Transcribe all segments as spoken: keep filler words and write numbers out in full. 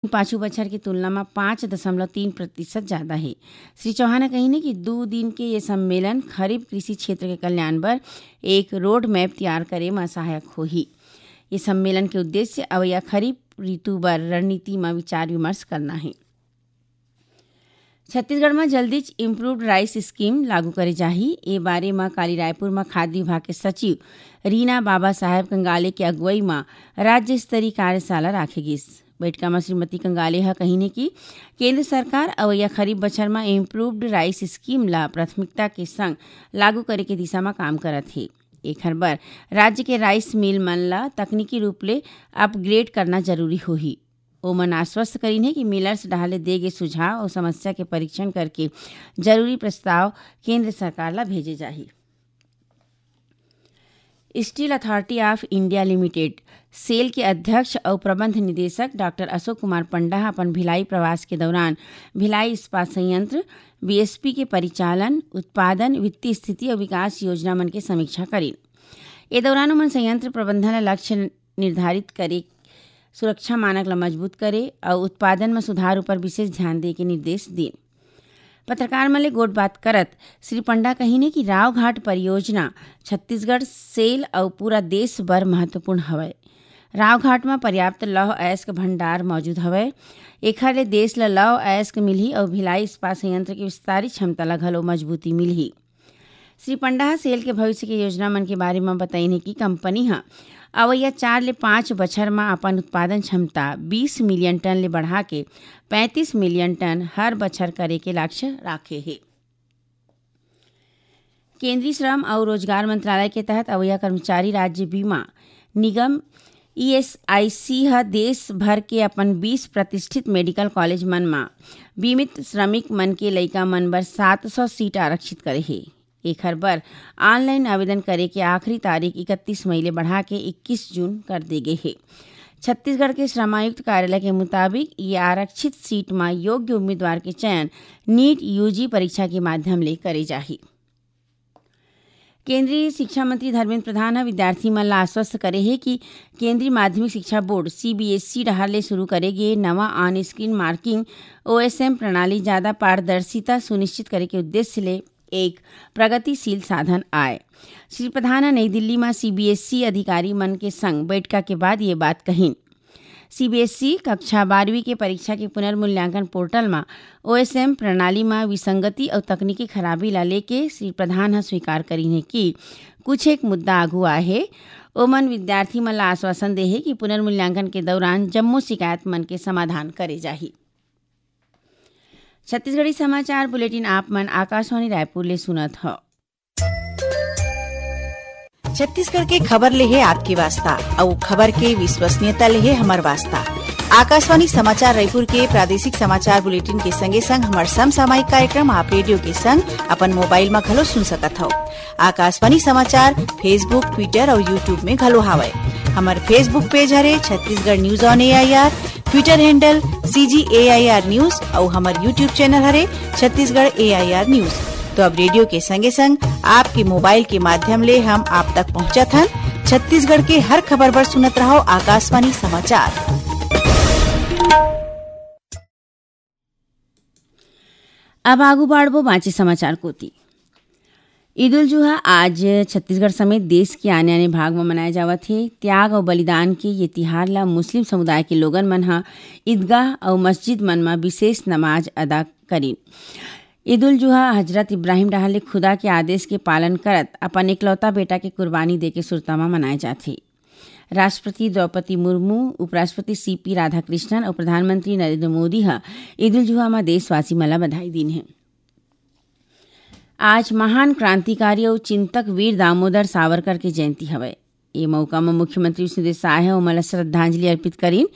पाछू बछर के तुलना म पाँच दशमलव तीन प्रतिशत जादा हे। श्री चौहान ह कहिन हे कि दू दिन के ये सम्मेलन खरीफ कृषि क्षेत्र के कल्याण बर एक रोड मैप तैयार करे म सहायक होही। ये सम्मेलन के उद्देश्य अवइया खरीफ ऋतु बर रणनीति म विचार विमर्श करना हे। छत्तीसगढ़ म जल्दीच इम्प्रूव्ड राइस स्कीम लागू करे जाही। ए बारे म काली रायपुर म खाद्य विभाग के सचिव रीना बाबा साहेब कंगाले के अगुवई म राज्य स्तरीय कार्यशाला राखे गिस। बइठका म श्रीमती कंगाले ह कहिन हे कि केंद्र सरकार अवइया खरीफ बछर म इम्प्रूव्ड राइस स्कीम ल प्राथमिकता के संग लागू करे के दिशा म काम करत हे। एखर बर राज्य के राइस मिल मन ल तकनीकी रूप ले अपग्रेड करना जरूरी होही। ओमन आश्वस्त करिन हे कि मिलर्स डहार ले दे गे सुझाव अउ समस्या के परीक्षण करके जरूरी प्रस्ताव केंद्र सरकार ल भेजे जाही। Steel authority of India limited, SAIL के अध्यक्ष अउ प्रबंध निदेशक डॉक्टर अशोक कुमार पंडा ह अपन भिलाई प्रवास के दौरान भिलाई इस्पात संयंत्र, बीएसपी के परिचालन, उत्पादन, वित्तीय स्थिति अउ विकास योजना मन के समीक्षा करिन। ए दौरान ओमन संयंत्र प्रबंधन ल लक्ष्य निर्धारित करे, सुरक्षा मानक ल मजबूत करे अउ उत्पादन म सुधार उपर विशेष ध्यान दे के निर्देश दीन। पत्रकार मन ले गोठबात करत श्री पंडा कहिन हे कि रावघाट परियोजना छत्तीसगढ़, सेल अउ पूरा देश बर महत्वपूर्ण हवय। रावघाट म पर्याप्त लौह अयस्क भंडार मौजूद हवय। एखर ले देश ल लौह अयस्क मिलही अउ भिलाई इस्पात संयंत्र के विस्तारित क्षमता ल घलो मजबूती मिलही। श्री पंडा ह सेल के भविष्य के योजना मन के बारे म बताइन हे कि कंपनी ह अवइया चार ले पाँच बछर म अपन उत्पादन क्षमता बीस मिलियन टन ले बढ़ा के पैंतीस मिलियन टन हर बछर करे के लक्ष्य राखे हे। केंद्रीय श्रम अउ रोजगार मंत्रालय के तहत अवइया कर्मचारी राज्य बीमा निगम, ईएसआईसी, ह देश भर के अपन बीस प्रतिष्ठित मेडिकल कॉलेज मन म बीमित श्रमिक मन के लइका मन बर सात सौ सीट आरक्षित करे हे। एखर बर ऑनलाइन आवेदन करे के आखिरी तारीख इकतीस मई ले बढ़ा के इक्कीस जून कर दे गे हे। छत्तीसगढ़ के श्रमायुक्त कार्यालय के मुताबिक, ये आरक्षित सीट म योग्य उम्मीदवार के चयन नीट यूजी परीक्षा के माध्यम ले करे जाही। केंद्रीय शिक्षा मंत्री धर्मेंद्र प्रधान ह विद्यार्थी मन ल आश्वस्त करे हे कि केंद्रीय माध्यमिक शिक्षा बोर्ड, सीबीएसई, डहार ले शुरू करे गे नवा ऑन स्क्रीन मार्किंग, ओएसएम, प्रणाली जादा पारदर्शिता सुनिश्चित करे के उद्देश्य ले एक प्रगतिशील साधन आय। श्री प्रधान ह नई दिल्ली म सीबीएसई अधिकारी मन के संग बैठका के बाद ये बात कहिन। सीबीएसई कक्षा बारहवीं के परीक्षा के पुनर्मूल्यांकन पोर्टल म ओएसएम प्रणाली म विसंगति अउ तकनीकी खराबी ला लेके श्री प्रधान ह स्वीकार करिन हे कि कुछ एक मुद्दा आगू आए हे। ओमन विद्यार्थी मन ला आश्वासन दे हे कि पुनर्मूल्यांकन के दौरान जम्मो शिकायत मन के समाधान करे जाही। छत्तीसगढ़ी समाचार बुलेटिन आप मन आकाशवाणी रायपुर ले सुनत हव। छत्तीसगढ़ के खबर ले हे आपके वास्ता, अउ खबर के विश्वसनीयता ले हे हमर वास्ता। आकाशवाणी समाचार रायपुर के प्रादेशिक समाचार बुलेटिन के संगे संग हमर समसामयिक कार्यक्रम आप रेडियो के संग अपन मोबाइल म घलो सुन सकत हव। आकाशवाणी समाचार Facebook, Twitter अउ YouTube में घलो हावय। हमर Facebook पेज हरे Chhattisgarh news on AIR, Twitter handle CG AIR news अउ हमर YouTube चैनल हरे छत्तीसगढ़ एआईआर न्यूज। तो अब रेडियो के संगे संग आपके मोबाइल के माध्यम ले हम आप तक पहुंचत हन छत्तीसगढ़ के हर खबर बर सुनत रहव आकाशवाणी समाचार। अब आगू बाढ़बो बांचे समाचार कोति। ईद उल जुहा आज छत्तीसगढ़ समेत देश के आने-आने भाग म मनाए जावत हे। त्याग अउ बलिदान के ये तिहार ल मुस्लिम समुदाय के लोगन मन ह ईदगाह अउ मस्जिद मन म विशेष नमाज अदा करिन। ईद उल जुहा हजरत इब्राहिम डहार ले खुदा के आदेश के पालन करत अपन एकलौता बेटा के कुर्बानी देके सुरता म मनाए जाथे। राष्ट्रपति द्रौपदी मुर्मू, उपराष्ट्रपति सीपी राधाकृष्णन अउ प्रधानमंत्री नरेंद्र मोदी ह ईद उल जुहा म देशवासी मन ल बधाई दीन हे। आज महान क्रांतिकारी अउ चिंतक वीर दामोदर सावरकर के जयंती हवय। ए मउका म मुख्यमंत्री विष्णुदेव साय ह ओमन ल श्रद्धांजलि अर्पित करिन।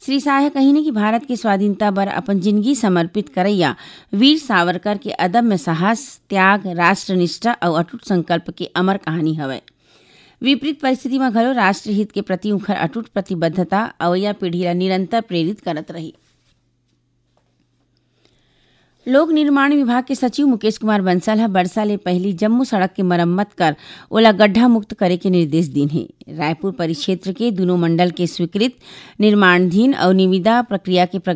श्री साय ह कहिन कि भारत के स्वाधीनता बर अपन जिनगी समर्पित करइया वीर सावरकर के अदम्य साहस, त्याग, राष्ट्रनिष्ठा अउ अटूट संकल्प के अमर कहानी हवय। विपरीत परिस्थिति म घलो राष्ट्रहित के प्रति उंखर अटूट प्रतिबद्धता अवइया पीढ़ी ल निरंतर प्रेरित करत रही। लोक निर्माण विभाग के सचिव मुकेश कुमार बंसल ह बरसा ले पहिली जम्मो सड़क के मरम्मत कर ओला गड्ढा मुक्त करे के निर्देश दीन हे। रायपुर परिक्षेत्र के दुनों मंडल के स्वीकृत निर्माणाधीन अउ निविदा प्रक्रिया के प्रगति